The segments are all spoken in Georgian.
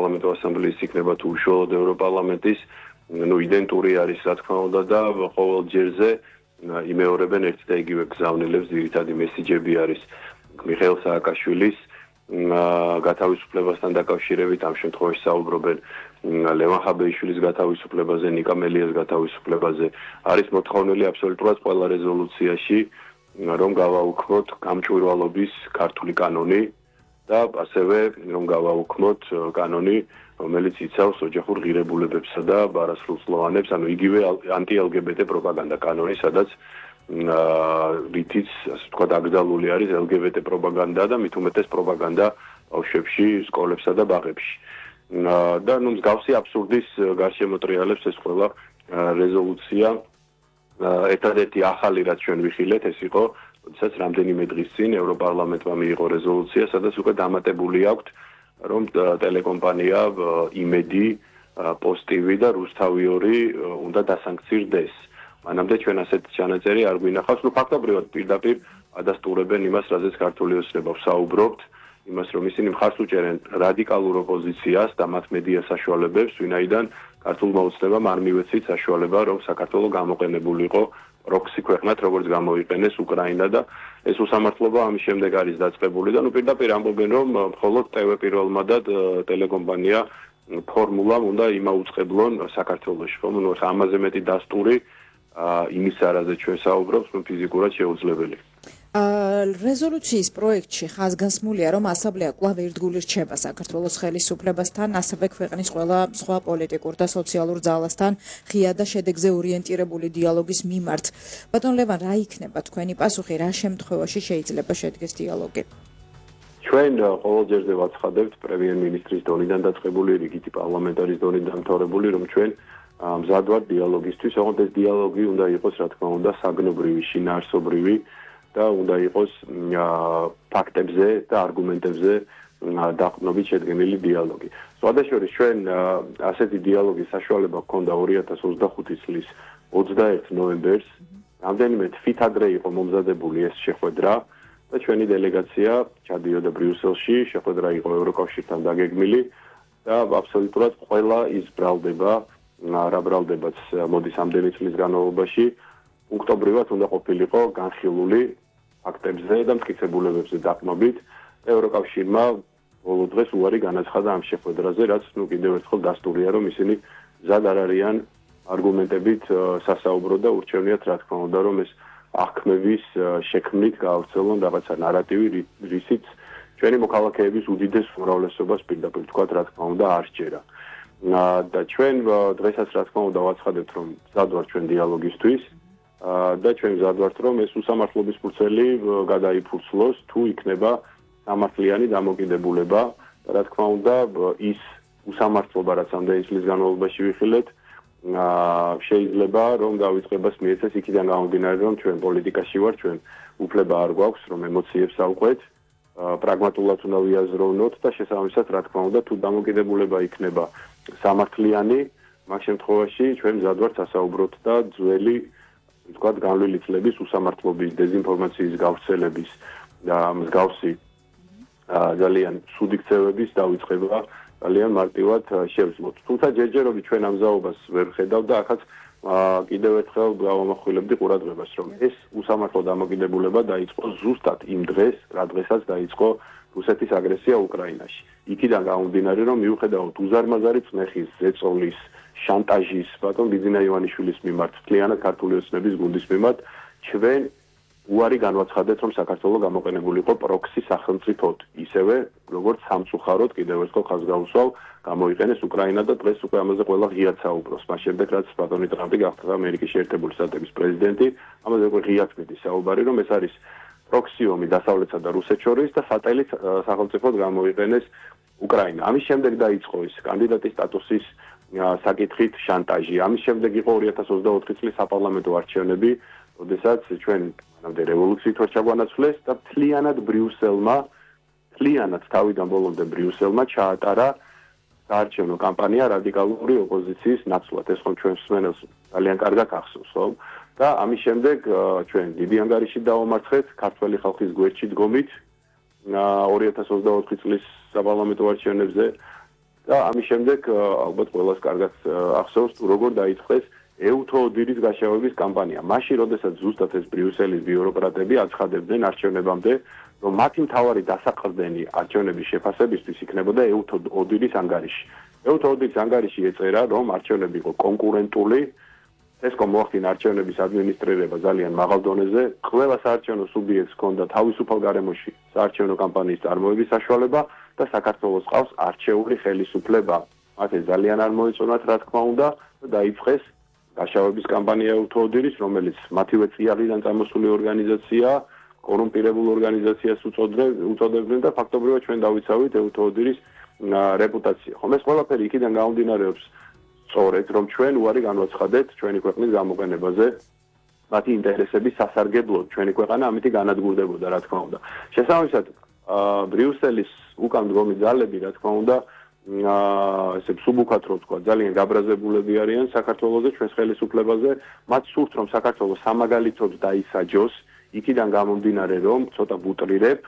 საპარლამენტო ასამბლეის იქნება თუ უშუალოდ ევროპარლამენტის, იდენტური არის რა თქმა უნდა და ყოველ ჯერზე იმეორებენ ერთ და იგივე გზავნილებს, ძირითადი მესიჯები არის მიხეილ სააკაშვილის გათავისუფლებასთან დაკავშირებით, ამ შემთხვევაში საუბრობენ ლევან ხაბეიშვილის გათავისუფლებაზე, ნიკა მელიას გათავისუფლებაზე. არის მოთხოვნილი აბსოლუტურად ყველა რეზოლუციაში, რომ გავაუქმოთ გამჭვირვალობის ქართული კანონი და ასევე რომ გავაუქმოთ კანონი, რომელიც იცავს ოჯახურ ღირებულებებსა და ბარასრულწლოვანებს, ანუ იგივე ანტი-LGBT პროპაგანდა კანონი, სადაც რითიც, ასე ვთქვათ, აკრძალული არის LGBT პროპაგანდა და მით უმეტეს პროპაგანდა ბავშვებში, სკოლებსა და ბაღებში. და მსგავსი აბსურდის გარშემო ტრიალებს ეს ყველა რეზოლუცია. ერთადერთი ახალი რაც ჩვენ ვიხილეთ, ეს იყო, როდესაც რამდენიმე დღის წინ ევროპარლამენტმა მიიღო რეზოლუცია, სადაც უკვე დამატებული აქვთ, რომ ტელეკომპანია იმედი, პოსტივი და რუსთავი 2 უნდა დასანქცირდეს. მანამდე ჩვენ ასეთ ჩანაწერი არ გვინახავს, ფაქტობრივად პირდაპირ ადასტურებენ იმას, რაზეც ქართული ოცნება ვსაუბრობთ, იმას, რომ ისინი მხარს უჭერენ რადიკალურ ოპოზიციას და მათ მედია საშუალებებს, ვინაიდან ქართულმა ოცნებამ არ მივეცით საშუალება, რომ საქართველო გამოყენებულიყო პროქსი ქვეყნად, როგორც გამოიყენეს უკრაინა და ეს უსამართლობა ამის შემდეგ არის დაწყებული და პირდაპირ ამბობენ, რომ მხოლოდ TV პირველმა და ტელეკომპანია ფორმულამ უნდა იმაუწყებლონ საქართველოში, ხომ? ამაზე მეტი დასტური იმის არაზე ჩვენ საუბრობთ, ფიზიკურად შეუძლებელი. რეზოლუციის პროექტში ხაზგასმულია, რომ ასამბლეა კვლავ ერთგული რჩება საქართველოს ხელისუფლებასთან, ასევე ქვეყნის ყველა სხვა პოლიტიკურ და სოციალურ ძალასთან ღია და შედეგზე ორიენტირებული დიალოგის მიმართ. ბატონ ლევან, რა იქნება თქვენი პასუხი, რა შემთხვევაში შეიძლება შედგეს დიალოგი? ჩვენ ყოველ ჯერზე ვაცხადებთ პრემიერ-მინისტრის დონიდან დაწყებული, რიგითი პარლამენტარის დონიდან დამთავრებული, რომ ჩვენ მზად ვართ დიალოგისთვის, ოღონდ ეს დიალოგი უნდა იყოს, რა თქმა უნდა, საგნობრივი, შინაარსობრივი და უნდა იყოს ფაქტებზე და არგუმენტებზე დაყრდნობით შედგენილი დიალოგი. სხვადასხვა ჩვენ ასეთი დიალოგის საშუალება ჰქონდა 2025 წლის 21 ნოემბერს. რამდენიმე თვით ადრე იყო მომზადებული ეს შეხვედრა და ჩვენი დელეგაცია ჩადიოდა ბრიუსელში, შეხვედრა იყო ევროკავშირთან დაგეგმილი და აბსოლუტურად ყველა ის ბრალდება, რა ბრალდებაც მოდის ამდენი წლის განმავლობაში, პუნქტობრივად უნდა ყოფილიყო განხილული ფაქტებზე და მტკიცებულებებზე დაყრდნობით. ევროკავშირმა ბოლო დღეს უარი განაცხადა ამ შეხვედრაზე, რაც კიდევ ერთხელ დასტურია, რომ ისინი მზად არ არიან არგუმენტებით სასაუბრო და ურჩევნიათ, რა თქმა უნდა, რომ ეს აღქმების შექმნით გაავრცელონ რაღაცა ნარატივი, რისიც ჩვენი მოქალაქეების უდიდეს უმრავლესობას პირდაპირ თქვათ, რა თქმა უნდა, არ სჯერა. და ჩვენ დღესაც, რა თქმა უნდა, ვაცხადებთ, რომ მზად ვართ ჩვენ დიალოგისთვის. და ჩვენ მზად ვართ, რომ ეს უსამართლობის ფურცელი გადაიფურცლოს, თუ იქნება სამართლიანი დამოკიდებულება. რა თქმა უნდა, ის უსამართლობა, რაც ამდენი წლის განმავლობაში ვიხილეთ, შეიძლება რომ დავიწყებას მიეცეს იქიდან გამომდინარე, რომ ჩვენ პოლიტიკაში ვართ, ჩვენ უფლება არ გვაქვს, რომ ემოციებს ავყვეთ, პრაგმატულად უნდა ვიაზროვნოთ და შესაბამისად, რა თქმა უნდა, თუ დამოკიდებულება იქნება სამართლიანი, მაგ შემთხვევაში ჩვენ მზად ვართ სასაუბროთ და ძველი ვთქვათ, განვლილი წლების უსამართლობის, დეзинფორმაციის გავრცელების და მსგავსი ძალიან ცუდი ქცევების დავიწყება ძალიან მარტივად შევძლოთ. თუმცა ჯერჯერობით ჩვენ ამ ზაობას ვერ ხედავთ და ახაც კიდევ ერთხელ გავამახვილებდი ყურადღებას, რომ ეს უსამართლო დამოკიდებულება დაიწყო ზუსტად იმ დღეს, რა დღესაც დაიწყო რუსეთის აგრესია უკრაინაში. იქიდან გამომდინარე, რომ მიუხედავად უზარმაზარი წნეხის, ზეწოლის, შანტაჟის, ბატონ ბიძინა ივანიშვილის მიმართ, მთლიანად ქართული ოცნების გუნდის მიმართ, ჩვენ უარი განვაცხადეთ, რომ საქართველო გამოყენებულიყო პროქსი სახელმწიფოდ, ისევე როგორც სამწუხაროდ კიდევ ერთხელ ხაზგაუსვალ გამოიყენეს უკრაინა და დღეს უკვე ამაზე ყველა ღიად საუბრობს. მას შემდეგ რაც ბატონი ტრამპი გახდა ამერიკის შეერთებული შტატების პრეზიდენტი, ამაზე უკვე ღიად მიდის საუბარი, რომ ეს არის პროქსიომი დასავლეთსა და რუსეთს შორის და სატელიტ სახელმწიფოდ გამოიყენეს უკრაინა. ამის შემდეგ დაიწყო ის კანდიდატის სტატუსის საკითხით შანტაჟი. ამის შემდეგ იყო 2024 წლის საპარლამენტო არჩევნები, როდესაც ჩვენ მანამდე რევოლუციით ვარ ჩაგვანაცვლეს და მთლიანად თავიდან ბოლომდე ბრიუსელმა ჩაატარა საარჩევნო კამპანია რადიკალური ოპოზიციის ნაცვლად. ეს ხომ ჩვენს მსმენელს ძალიან კარგად ახსოვს, ხო? და ამის შემდეგ ჩვენ დიდი ანგარიში დავამარცხეთ ქართველი ხალხის გვერდში დგომით 2024 წლის საპარლამენტო არჩევნებზე და ამის შემდეგ ალბათ ყველას კარგად ახსოვს თუ როგორ დაიწყეს ეუთოოდირის გაშავების კამპანია. მაშინ, როდესაც ზუსტად ეს ბრიუსელის ბიუროკრატები აცხადებდნენ არჩევნებამდე, რომ მათი მთავარი დასაყრდენი არჩევნების შეფასებისთვის იქნებოდა ეუთოოდირის ანგარიში. ეუთოოდირის ანგარიში ეწერა, რომ არჩევნები იყო კონკურენტული, ესკომ მოახდინა არჩევნების ადმინისტრირება ძალიან მაღალ დონეზე, ყველა საარჩევნო სუბიექტს ჰქონდა თავისუფალ გარემოში საარჩევნო კამპანიის წარმოების საშუალება და საქართველოს ყავს არჩეული ხელისუფლება. მათ ეს ძალიან არ მოეწონათ, რა თქმა უნდა, და დაიწყეს გაშავების კამპანია ეუთოოდირის, რომელიც მათივე წიაღიდან წამოსული ორგანიზაციაა, კორუმპირებულ ორგანიზაციას უწოდებდნენ და ფაქტობრივად ჩვენ დავიცავით ეუთოოდირის რეპუტაცია. ხომ ეს ყველაფერი იქიდან გამომდინარეობს სწორედ, რომ ჩვენ უარი განვაცხადეთ ჩვენი ქვეყნის გამოყენებაზე, მათი ინტერესების სასარგებლოდ ჩვენი ქვეყანა ამით განადგურდებოდა, რა თქმა უნდა. შესაბამისად, ბრიუსელის უკან მდგომი ძალები, რა თქმა უნდა, ესე მსუბუქად რო ვთქვა, ძალიან გაბრაზებულები არიან საქართველოზე, ჩვენს ხელისუფლებაზე, მათ სურთ, რომ საქართველოს სამაგალითოდ დაისაჯოს, იქიდან გამომდინარე, რომ ცოტა ბუტრირებ,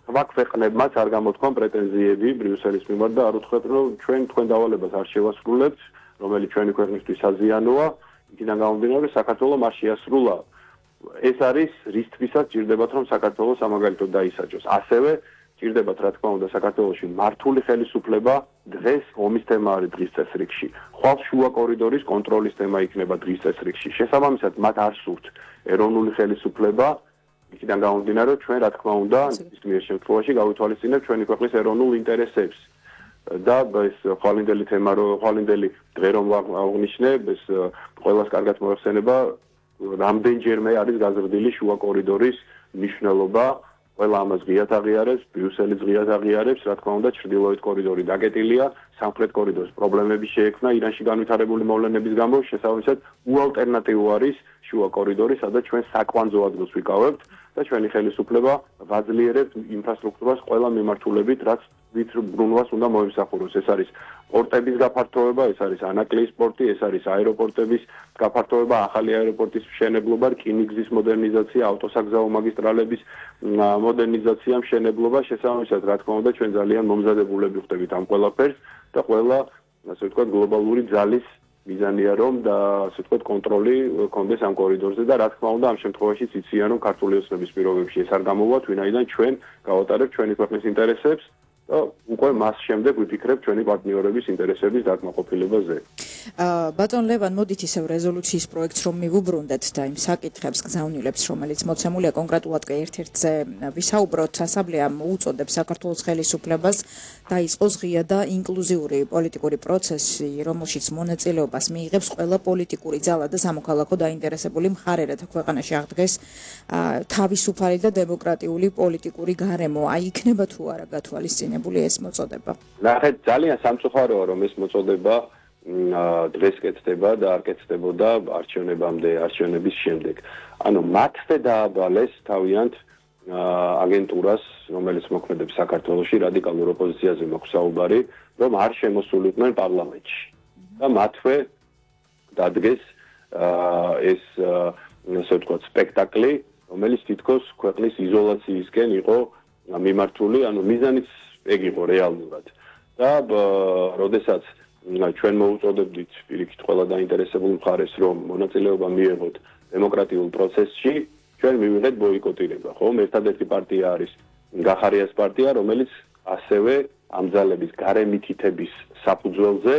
სხვა ქვეყნებმაც არ გამოთქვან პრეტენზიები ბრიუსელის მიმართ და არ უთხრათ, რომ თქვენ დავალებას არ შევასრულებთ, რომელიც ჩვენი ქვეყნისთვის საზიანოა, იქიდან გამომდინარე, საქართველოს არ შეასრულა. ეს არის რისთვისაც ჭირდებათ, რომ საქართველოს სამაგალითოდ დაისაჯოს. ასევე ჭირდებათ, რა თქმა უნდა, საქართველოში მართული ხელისუფლება, დღეს ომის თემა არის დღის წესრიგში. ხვალ შუა კორიდორის კონტროლის თემა იქნება დღის წესრიგში. შესაბამისად, მათ არ სურთ ეროვნული ხელისუფლება, იქიდან გამომდინარე, რომ ჩვენ, რა თქმა უნდა, ნებისმიერ შემთხვევაში გავითვალისწინებთ ჩვენი ქვეყნის ეროვნულ ინტერესებს. და ეს ხვალინდელი თემა, ხვალინდელი დღე რომ აღნიშნე, ეს ყველას კარგად მოეხსენება, რამდენჯერმე არის გაზრდილი შუა კორიდორის მნიშვნელობა. ყველა ამას ღიად აღიარებს, ბრიუსელი ღიად აღიარებს, რა თქმა უნდა, ჩრდილოეთ კორიდორი დაკეტილია, სამხრეთ კორიდორს პრობლემები შეექმნა ირანში განვითარებული მოვლენების გამო, შესაბამისად, უალტერნატივო არის შუა კორიდორი, სადაც ჩვენ საკვანძო ადგილს ვიკავებთ და ჩვენი ხელისუფლება ვაძლიერებთ ინფრასტრუქტურას ყველა მიმართულებით, რაც ვით ბრუნვას უნდა მოიმსახუროს. ეს არის პორტების გაფართოება, ეს არის ანაკლიის პორტი, ეს არის აეროპორტების გაფართოება, ახალი აეროპორტის მშენებლობა, რკინიგზის მოდერნიზაცია, ავტოსაგზაო მაგისტრალების მოდერნიზაცია, მშენებლობა, შესაბამისად, რა თქმა უნდა, ჩვენ ძალიან მომზადებულები ვხდებით ამ ყველაფერს და ყველა, ასე ვთქვათ, გლობალური ძალის მიზანია რომ და ასე ვთქვათ კონტროლი კონდეს ამ კორიდორზე და რა თქმა უნდა ამ შემთხვევაში იციან რომ ქართული ოცნების პირობებში ეს არ გამოვათ, ვინაიდან ჩვენ გავატარებთ ჩვენი ქვეყნის ინტერესებს და უკვე მას შემდეგ ვიფიქრებთ ჩვენი პარტნიორების ინტერესების დაკმაყოფილებაზე. ბატონ ლევან, მოდით ისევ რეზოლუციის პროექტს რომ მივუბრუნდეთ და იმ საკითხებს გზავნილებს, რომელიც მოცემულია კონკრეტულად კი ერთ-ერთზე ვისაუბროთ, ასამბლეამ უწოდებს საქართველოს ხელისუფლებას დაიწყოს ღია და ინკლუზიური პოლიტიკური პროცესი, რომელშიც მონაწილეობას მიიღებს ყველა პოლიტიკური ძალა და სამოქალაქო დაინტერესებული მხარე, რათა ქვეყანაში აღდგეს თავისუფალი და დემოკრატიული პოლიტიკური გარემო. აი იქნება თუ არა გათვალისწინებული ეს მოწოდება? ნახეთ, ძალიან სამწუხაროა რომ ეს მოწოდება დღეს კეთდება და არ კეთდებოდა არჩევნებამდე, არჩევნების შემდეგ. ანუ მათვე დააბალეს თავიანთ აგენტურას, რომელიც მოქმედებს საქართველოში, რადიკალურ ოპოზიციაზე მაქვს საუბარი, რომ არ შემოსულიყვნენ პარლამენტში. და მათვე დადგეს ეს ასე ვთქვათ სპექტაკლი, რომელიც თითქოს ქვეყნის იზოლაციისკენ იყო მიმართული, ანუ მიზანიც ეგ იყო რეალურად. და როდესაც ჩვენ მოუწოდებდით პირიქით ყველა დაინტერესებულ მხარეს, რომ მონაწილეობა მიიღოთ დემოკრატიულ პროცესში, ჩვენ მივიღეთ ბოიკოტირება, ხომ? ერთადერთი პარტია არის გახარიას პარტია, რომელიც ასევე ამ ძალების გარემითითების საფუძველზე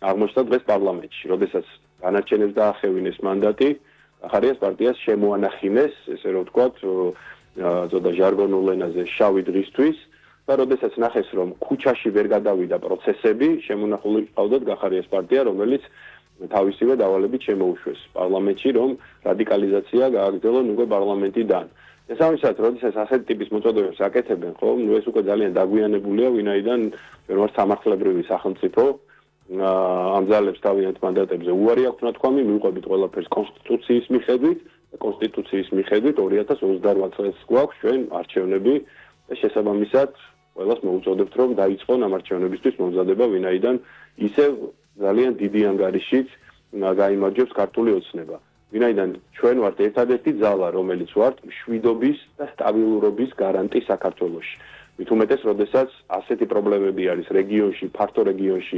აღმოჩნდა დღეს პარლამენტში. როდესაც განარჩენებს დაახევინეს მანდატი, გახარიას პარტიას შემოანახინეს, ესე რომ ვთქვათ, ზოგადად ჟარგონულ ენაზე შავი დღისთვის და როდესაც ნახეს, რომ ქუჩაში ვერ გადავიდა პროცესები, შემონახული ყავდათ გახარიას პარტია, რომელიც თავისივე დავალებით შემოუშვეს პარლამენტში, რომ რადიკალიზაცია გააგრძელონ უკვე პარლამენტიდან. შესაბამისად, როდესაც ასეთი ტიპის მოწოდებებს აკეთებენ, ხო, ეს უკვე ძალიან დაგვიანებულია, ვინაიდან ჩვენ ვართ სამართლებრივი სახელმწიფო, ამ ძალებს თავიანთ მანდატებზე უარი აქვს ნათქვამი, მივყვებით ყველაფერს კონსტიტუციის მიხედვით, კონსტიტუციის მიხედვით 2028 წელს გვაქვს ჩვენ არჩევნები და შესაბამისად ყველას მოუწოდებთ, რომ დაიწყონ ამ არჩევნებისთვის მომზადება, ვინაიდან ისევ ძალიან დიდი ანგარიშით გაიმარჯვებს ქართული ოცნება. ვინაიდან ჩვენ ვართ ერთადერთი ძალა, რომელიც ვართ მშვიდობის და სტაბილურობის გარანტი საქართველოში. მით უმეტეს, როდესაც ასეთი პრობლემები არის რეგიონში, ფართო რეგიონში